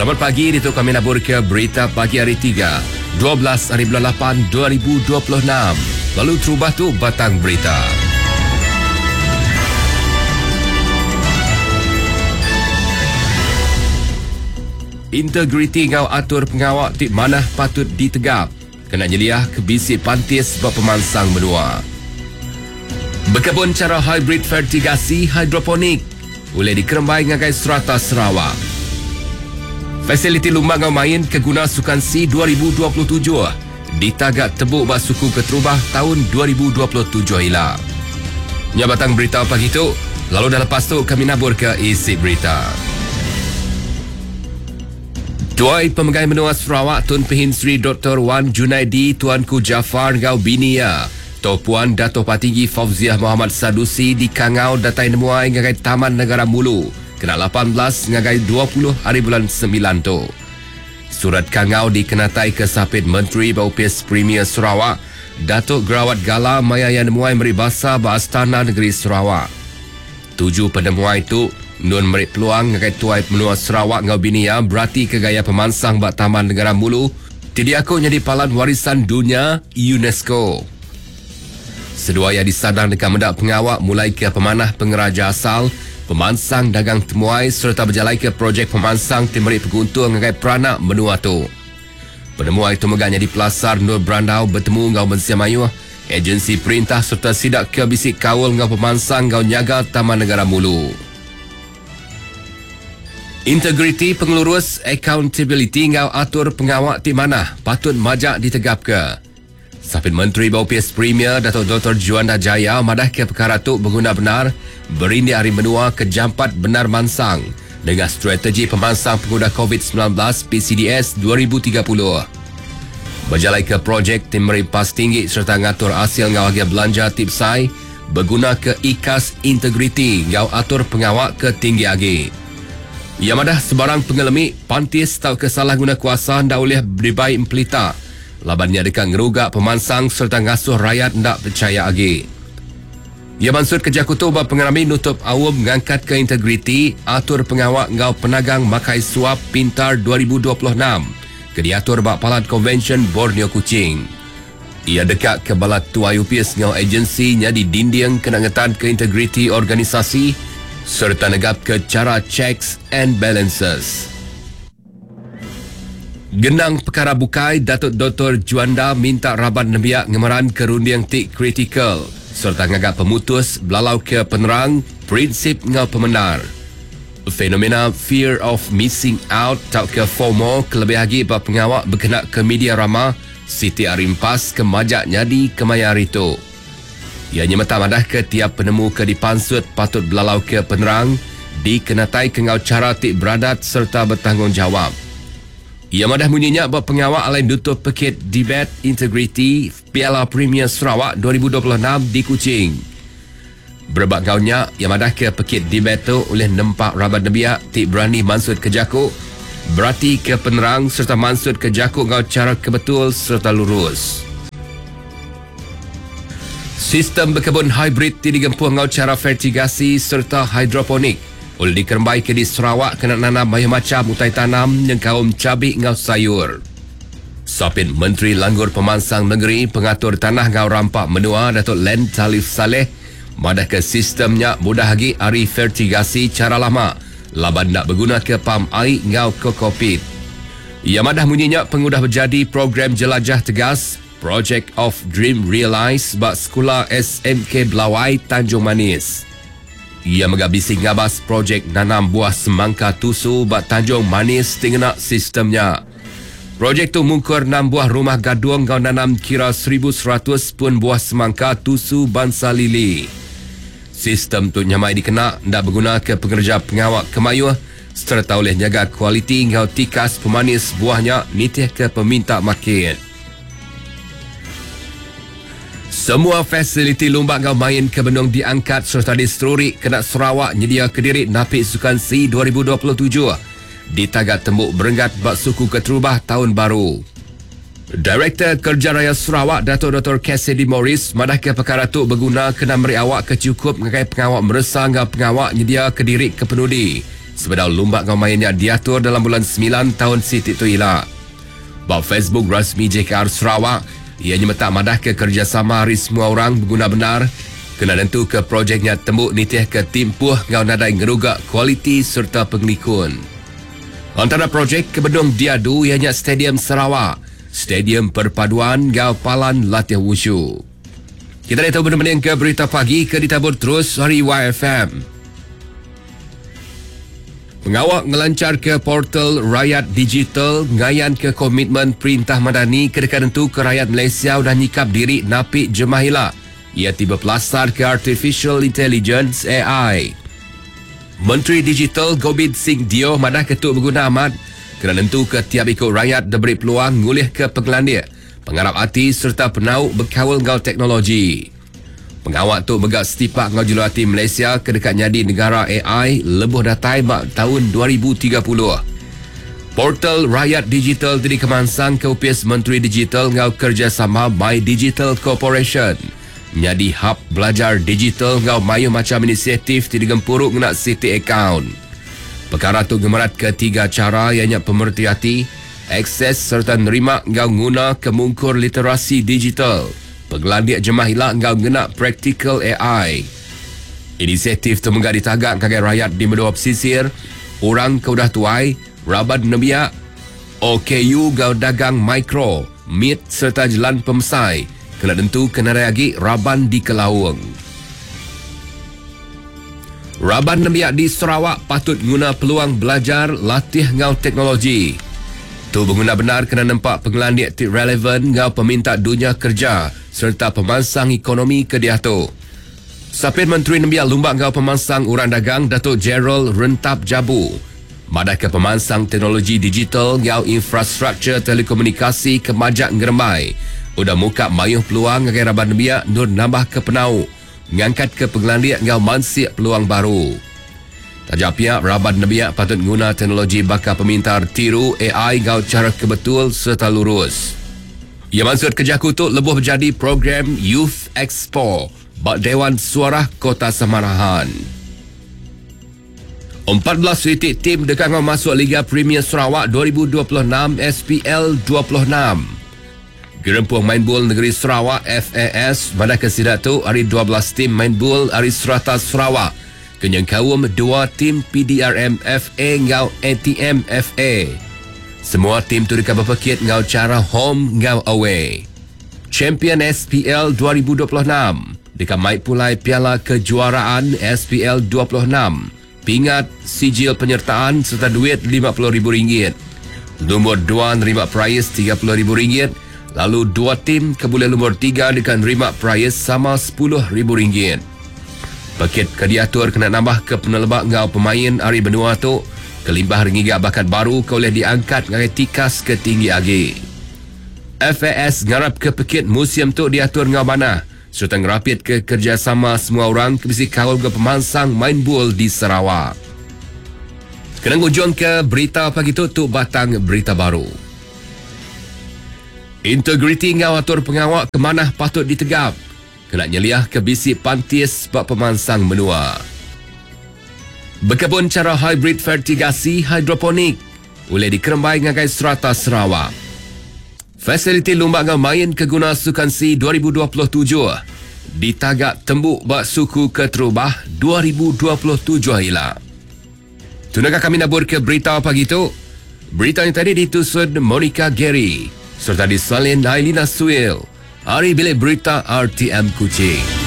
Selamat pagi ditu kami nabur ke berita pagi hari 3, 12 hari bulan 8 2026. Lalu terubah tu batang berita. Integriti enggau atur pengawa ti manah patut ditegap kena nyeliah ke bisi pantis ba pemansang menua. Bekebun chara hybrid fertigasi hidroponik ulih dikerembai ngagai serata Sarawak. Fasiliti lumba enggau main ke guna Sukan SEA 2027 ditaga tebu ba suku keterubah taun 2027 ila. Nya batang berita pagi tu, lalu dah lepas tu kami naburka isi berita. Tuai Pemegai Menua Sarawak Tun Pehin Sri Doktor Wan Junaidi Tuanku Jaafar enggau bini iya, Toh Puan Dato Patinggi Fauziah Mohamad Sadusi dikangau datai nemuai ngagai Taman Negara Mulu kena 18 ngagai 20 hari bulan semilan tu. Surat kangau dikenataika Sapit Menteri ba Opis Premier Sarawak, Datuk Gerawat Gala maya iya nemuai meri basa ba Astana Negeri Sarawak. Tuju penemuai tu, Nun meri peluang ngagai tuai menua Sarawak enggau bini iya beratika gaya pemansang ba Taman Negara Mulu ti diaku nyadi Palan Warisan Dunya UNESCO. Seduai iya disadang deka meda pengawa mulaika pemanah pengeraja asal, pemansang dagang temuai sereta bejalaika projek pemansang ti meri penguntung ngagai peranak menua tu. Penemuai tu mega nyadi pelasar endur berandau betemu enggau mensia mayuh, ejensi perintah sereta sida ke bisi kaul enggau pemansang enggau nyaga Taman Negara Mulu. Integriti pengelurus, accountability enggau atur pengawa ti manah patut majak ditegapka. Sapit Menteri ba Opis Premier Datuk Doktor Juanda Jaya madahka pekara tu beguna bendar berindik ari menua ke jampat bendar mansang nengah strategi pemansang pengudah Covid 19 PCDS 2030. Bejalaika projek ti meri pas tinggi sereta ngatur asil enggau agih belanja ti besai begunaka ikas integriti enggau atur pengawa ke tinggi agi. Iya madah sebarang pengelemi, pantis tauka salah nguna kuasa enda ulih dibai empelita laban nya deka ngeruga pemansang sereta ngasuh rayat enda pechaya agi. Iya mansutka jaku tu ba pengerami nutup aum ngangkatka integriti atur pengawa enggau penagang makai suap Pintar 2026 ke diatur ba Palan Konvensyen Borneo Kuching. Iya deka ke bala tuai opis enggau ejensi nyadi dinding kena ngetanka integriti organisasi sereta negapka chara checks and balances. Genang pekara bukai, Datuk Doktor Juanda minta raban nembiak ngemeranka runding ti kritikal sereta ngaga pemutus belalauka penerang, prinsip enggau pemendar. Fenomena fear of missing out tauka FOMO kelebih agi ba pengawa bekenaka media rama siti ari empas ke majak nyadi kemaya hari tu. Iya nyemetak madahka tiap penemu ke dipansut patut belalauka penerang dikenataika enggau chara ti beradat sereta betanggungjawap. Iya madah munyi nya ba pengawa alai nutup pekit Debate Integriti Piala Premier Sarawak 2026 di Kuching. Berebak enggau nya, iya madahka pekit debate tu ulih nempa raban nembiak ti berani mansutka jaku, beratika penerang sereta mansutka jaku enggau chara ke betul sereta lurus. Sistem bekebun hibrid ti digempuh enggau chara fertigasi sereta hidroponik ulih dikerembaika di Sarawak kena nanam mayuh macham utai tanam nyengkaum chabi enggau sayur. Sapit Menteri Langgur Pemansang Nengeri, Pengatur Tanah enggau Rampa Menua Datuk Len Talif Salleh madahka sistem nya mudah agi ari fertigasi chara lama laban enda begunaka pam ai enggau kokopit. Iya madah munyi nya pengudah bejadi Program Jelajah Tegas, Project of Dream Realised ba Sekula SMK Belawai, Tanjung Manis. Iya mega bisi ngabas projek nanam buah semangka tusu ba Tanjung Manis ti ngena sistem nya. Projek tu mungkur enam buah rumah gadung enggau nanam kira 1100 pun buah semangka tusu bansa lili. Sistem tu nyamai dikena enda begunaka pengereja pengawa ke mayuh sereta ulih nyaga kualiti enggau tikas pemanis buah nya nitihka peminta makit. Semua fasiliti lumba enggau main ke benung diangkat sereta diseruri kena Sarawak nyediaka diri napi Sukan SEA 2027 ditaga tembu berenggat ba suku keterubah taun baru. Direktor Kerja Raya Sarawak Datuk Doktor Cassidy Morris madahka pekara tu beguna kena meri awak ke chukup ngagai pengawa meresa enggau pengawa nyediaka diri ke penudi. sebedau lumba enggau main nya diatur dalam bulan semilan taun siti tu ila. Ba Facebook rasmi JKR Sarawak, iya nyemetak madahka kerejasama ari semua orang beguna bendar kena nentuka projek nya tembu nitihka timpuh enggau nadai ngeruga kualiti sereta pengelikun. Antara projek ke benung diadu iya nya Stadium Sarawak, Stadium Perpaduan enggau Palan Latih Wushu. Kita diatu benung mendingka berita pagi ke ditabur terus ari YFM. Pengawa ngelancharka portal rayat digital ngayanka komitmen Perintah Madani ke deka nentuka rayat Malaysia udah nyikap diri napi jemah ila iya ti bepelasarka Artificial Intelligence, AI. Menteri Digital Gobind Singh Deo madahka tu beguna amat kena nentuka tiap iku rayat diberi peluang ngulihka pengelandik, pengarap ati sereta penau bekaul enggau teknologi. Pengawa tu mega setipak enggau juluk ati Malaysia ke deka nyadi negara ai lebuh datai ba taun 2030. Portal Rakyat Digital ti dikemansangka Opis Menteri Digital enggau kerejasama My Digital Corporation nyadi hub belajar digital enggau mayuh macham inisiatif ti digempuru ngena siti akaun. Pekara tu ngemeratka tiga chara iya nya pemereti ati, akses sereta nerima enggau nguna ke mungkur literasi digital, pengelandik jemah ila enggau ngena praktikal ai. Inisiatif tu mega ditaga ngagai rayat di menua pesisir, orang ke udah tuai, raban nembiak, OKU enggau dagang mikro, mit sereta jelan pemesai kena nentuka nadai agi raban dikelaung. Raban nembiak di Sarawak patut nguna peluang belajar latih enggau teknologi. Tu beguna bendar kena nempa pengelandik ti relevan enggau peminta dunya kereja sereta pemansang ekonomi ke diatu. Sapit Menteri Nembiak Lumba enggau Pemansang Orang Dagang Datuk Gerald Rentap Jabu madahka pemansang teknologi digital enggau infrastruktur telekomunikasi ke majak ngerembai udah muka mayuh peluang ngagai raban nembiak endur nambahka penau, ngangkatka pengelandik enggau mansik peluang baru. Taja pia, raban nembiak patut nguna teknologi baka pemintar tiru ai enggau chara ke betul sereta lurus. Iya mansutka jaku tu lebuh bejadi program Youth Expo ba Dewan Suarah Kota Samarahan. 14 iti tim deka enggau masuk Liga Premier Sarawak 2026 SPL 26. Gerempung Main Bul Negeri Sarawak, FAS, madahka sida tu ari 12 tim main bul ari serata Sarawak ke nyengkaum dua tim PDRM FA enggau ATM FA. Semua tim tu deka bepekit enggau chara home enggau away. Champion SPL 2026 deka mai pulai Piala Kejuaraan SPL 26, pingat, sijil penyertaan sereta duit RM50,000. Lumur dua nerima perais RM30,000 lalu dua tim ke bulih lumur tiga deka nerima perais sama RM10,000. Pekit ke diatur kena nambahka peneleba enggau pemain ari menua tu kelimpah ari ngiga bakat baru ke ulih diangkat ngagai tikas ke tinggi agi. FAS ngarapka pekit musim tu diatur enggau manah sereta ngerapitka kerejasama semua orang ke bisi kaul enggau pemansang main bul di Sarawak. Kena ngujungka berita pagi tu, tu batang berita baru. Integriti enggau atur pengawa ke manah patut ditegap kena nyeliahka bisi pantis ba pemansang menua. Bekebun chara hibrid fertigasi hidroponik ulih dikerembai ngagai serata Sarawak. Fasiliti lumba enggau main ke guna Sukan SEA 2027 ditaga tembu ba suku keterubah 2027 ila. Tunaka kami naburka berita pagi tu. Berita nya tadi ditusun Monica Gary sereta disalin Ailina Suil ari Bilik Berita RTM Kuching.